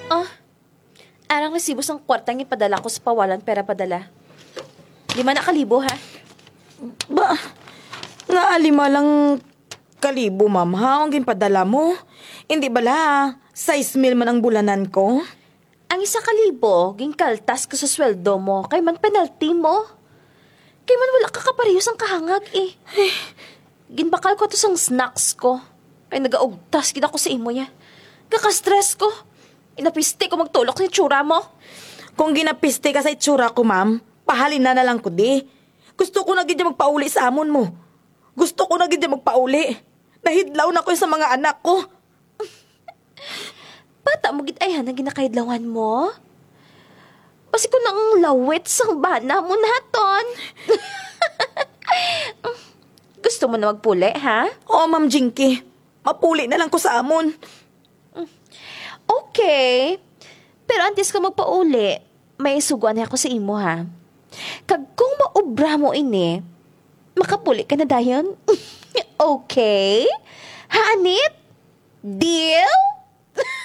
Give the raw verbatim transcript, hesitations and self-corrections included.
Ah, arang resibo sang kwarta nga ipadala ko sa Pawalan, pera padala. Lima na ka libo, ha? Ba, nga lima lang kalibo, ma'am, ha? Ang ginpadala mo? Hindi bala, sais mil man ang bulanan ko? Ang isa ka libo, ginkaltas ko sa sweldo mo, kay man penalty mo. Kay man wala ka kapareho sang kahangag, eh. Ginbakal ko to sang snacks ko. Kay nagaugtas gid ako sa imo, ya. Gaka-stress ko. Inapiste ko magtulok sa itsura mo. Kung ginapiste ka sa itsura ko, ma'am, pahalina na lang ko di. Gusto ko na gid magpauli sa amon mo. Gusto ko na gid magpauli. Nahidlaw na ko sa mga anak ko. Bata mo gid ay, ha, na ginakahidlawan mo? Basi ko nang lawit sang bana mo naton. Gusto mo na magpuli, ha? Oo, Ma'am Jinky. Mapuli na lang ko sa amon. Okay. Pero antes ka magpauli, may sugoan ako sa imo, ha. Kag kung maobra mo ini, makapuli ka na dayon. Okay? Ha, Anit? Deal?